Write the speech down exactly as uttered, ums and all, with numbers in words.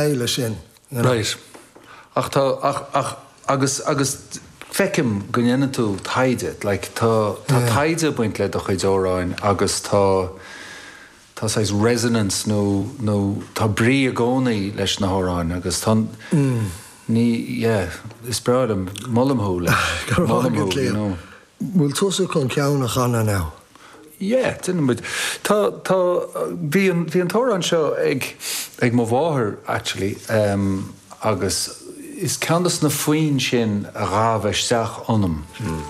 Leis sin. You know? Right. Ach tá ach ach agus agus feicim go ndéanann tú taighde, like tá tá taighde ag baint le do chuid amhráin agus tá tá saghas resonance nó nó tá brí i gcónaí leis na hamhráin agus tá mm. ní yeah, is breá liom molaim thú leis. Molaim thú, you know. Bhfuil tusa chun ceann a chanadh now? Yeah, muid. Tá tá bhí an bhí an t-amhrán seo ag ag mo mháthair actually um, agus is ceann de na foinn sin a ghabh isteach ionam. Mm.